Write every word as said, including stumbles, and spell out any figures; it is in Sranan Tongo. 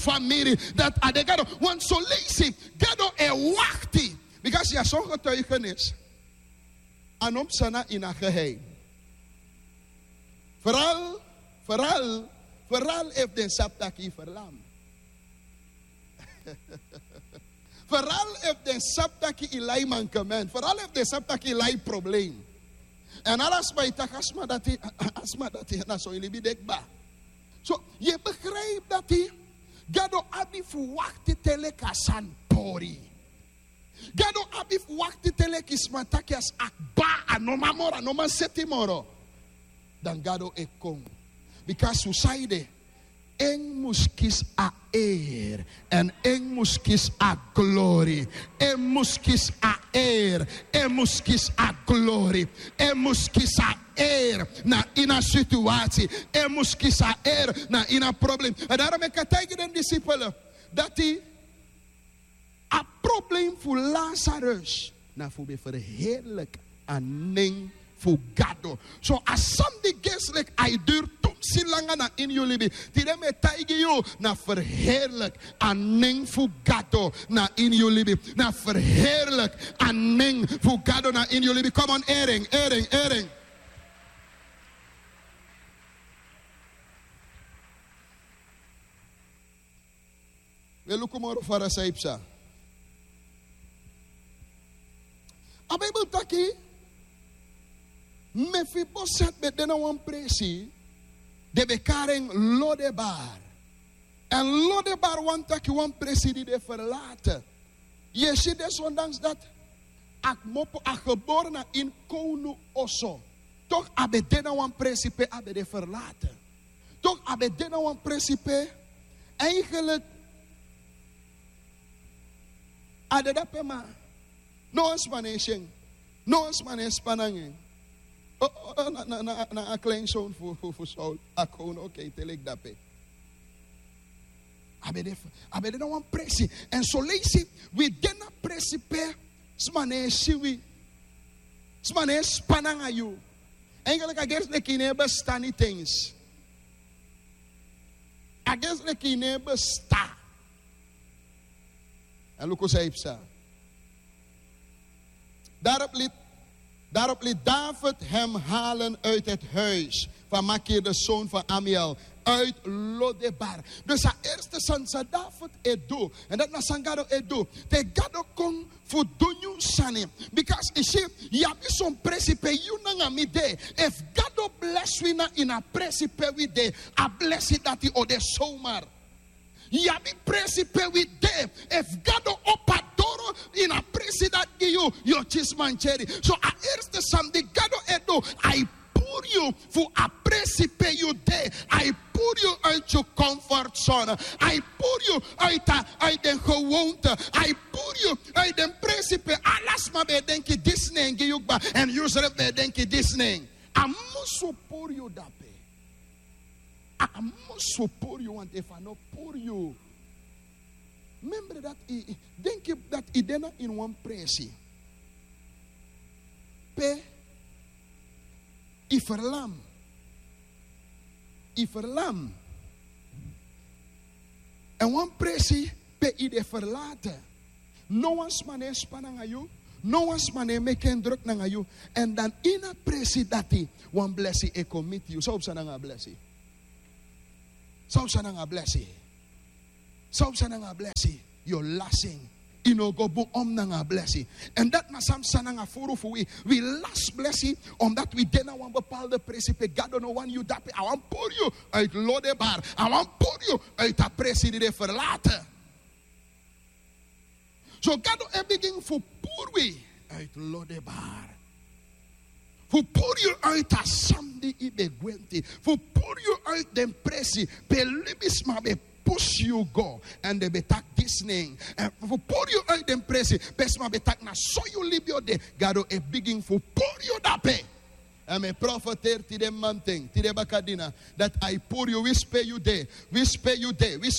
famiri, dati a de Gado. Want son leisi Gado e wakti. Bika yu abi son getuigenis. A no mus de na ini a geheim. Vooral, vooral, vooral efu den sabi taki yu verlam. Vooral efu den sabi taki yu lai mankement. Vooral efu den sabi taki yu lai probleem. Èn ala sma e taki a sma dati, a sma dati na so yu libi de kba. So, yu e begrijp dati Gado abi fu wakti te leki a sani pori. Gado abi fu wakti te leki sma taki a sani kba, a no man moro, a no man seti moro. Dan Gado e kon. Bika yu sabi, en mus kisi a eer, èn en mus kisi a glori. En mus kisi a eer, en mus kisi a glori. En mus kisi a eer na ini a situasi. En mus kisi a eer na ini a probleem. Èn daarom meki a taigi den disipel dati a probleem fu Lazarus na fu ben verheerlijk a nen fu Gado. So a sani di geestelijk a e duru tumsi langa na ini yu libi. Tide mi e taigi yu, na verheerlijk a nen fu Gado na ini yu libi. Na verheerlijk a nen fu Gado na ini yu libi. Come on, ering, ering, ering. We luku moro fara san yu psa. A Bijbel taki, Mefiboset ben de na wan presi, den ben kari en Lodebar. Èn Lodebar wani taki wan presi di de verlaten. Yu e si, desondanks dati a kmopo, a gebore na ini kownu oso, toch a ben de na wan presi pe a ben de verlaten. Toch a ben de na wan presi pe eigenlijk a de dape, ma no wan sma no e si en. No wan sma no e span nanga en. O, o, o, na, na, na, na a kleinzoon fu, fu, fu Saul, a kownu, oké, te leki dape. A ben de, a ben de na wan presi. Èn son leisi wi de na presi pe sma no e si wi. Sma no e span nanga yu. Eigenlijk a gersi leki yu no e bestan niti eens. A gersi leki yu no e bestan. Èn luku san yu psa. Daarop liet, daarop liet David hem halen uit het huis van Makir, de zoon van Amiel, uit Lodebar. Dus a eerste sani san David e du, èn dati na san Gado e du. Te Gado kon fu du nyun sani. Because yu si, yu abi son presi pe yu nanga mi de. Efu Gado blesi wi na ini a presi pe wi de, a blesi dati o de zomaar. Yu abi presi pe wi de. Efu Gado opo a doro ini a presi dati gi yu, yu o kisi mankeri. So a eerste sani di Gado e du, a e puru yu fu a presi pe yu de. A e puru yu uit yu comfortzone. A e puru yu uit a, uit den gewoonte. A e puru yu uit den presi pe ala sma ben e denki disi nen gi yu kba, èn yusrefi ben e denki disi nen. A musu puru yu dape. A musu puru yu, want efu a no puru yu. Memre dati yu, yu denki dati yu de na ini wan presi pe yu verlam. Yu verlam. Èn wan presi pe yu de verlaten. No wan sma no e span nanga yu. No wan sma no e meki en druk nanga yu. Èn dan ini a presi dati wan blesi e kon miti yu. San yu psa nanga a blesi? San yu psa nanga a blesi? San yu psa nanga a blesi? Yu o lasi en. Yu no o go bun om nanga a blesi. Èn dati na san yu psa nanga furu fu wi. Wi lasi blesi omdat wi de na wan bepaalde presi pe Gado no wani yu dape. A wani puru yu uit Lodebar. A wani puru yu uit a presi di de verlaten. So Gado e bigin fu puru wi uit Lodebar. Fu puru yu uit a sani di yu ben gwenti. Fu puru yu uit den presi pe libisma ben pusu yu go. Èn den ben taki disi nen. Èn fu puru yu uit den presi pe sma ben taki na so yu libi o de. Gado e bigin fu puru yu dape. Èn mi e profeteri tide mamanten, tide bakadina, dati a e puru yu, winsi pe yu de, winsi pe yu de,